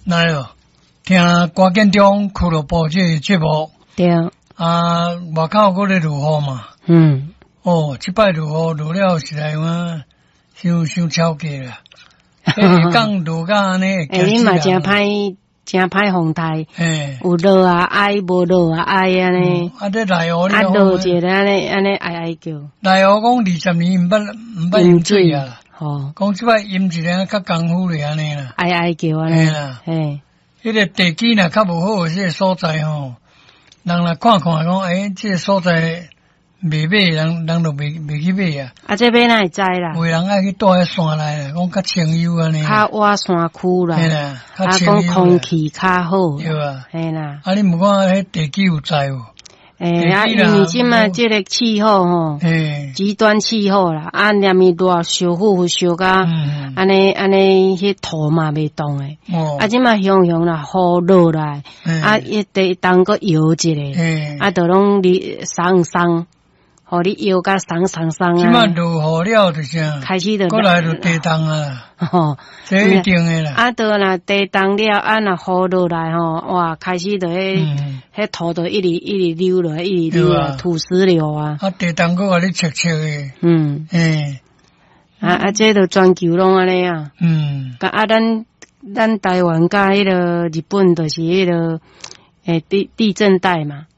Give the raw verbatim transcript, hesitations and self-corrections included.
來咯，聽歌建中俱樂部這個節目。對。啊，外口閣咧落雨嘛。嗯。哦，這擺落雨落了實在有影，傷傷超過啦。下降落甲按呢。欸，你嘛誠歹，誠歹風台。有落啊哀，無落啊哀按呢。啊，這內湖啊，落一下按呢按呢哀哀叫。內湖講二十年毋捌毋捌淹水啊。吼。講這擺淹一個較功夫咧按呢啦。哀哀叫按呢啦。嘿。彼個地基若較無好，這個所在吼，人來看看講，欸，這個所在袂買，人人就袂袂去買啊。啊，這欲哪會知啦？有人愛去蹛佇山內啦，講較清幽按呢。較倚山區啦。嘿啦，啊，講空氣較好。對啊。嘿啦。啊，你毋看彼地基有在無？欸，啊，因為這擺這個氣候吼，極端氣候啦，啊，連咪熱燒呼呼燒甲，按呢按呢，彼土嘛袂動的。啊，這擺雄雄啦，雨落來，啊，伊地動閣搖一下，啊，就攏你鬆鬆，予你搖甲鬆鬆鬆啊。這擺落雨了就啥？開始就閣來就地動啊。吼，這一定的啦。啊，就若地動了，啊，若雨落來吼，哇，開始就彼彼土就一直一直溜落來，一直溜落來，土石流啊。啊，地動閣共你切切的。嗯。欸。啊啊，這就全球攏按呢啊。嗯。啊，咱咱台灣佮彼個日本就是彼個欸地地震帶嘛。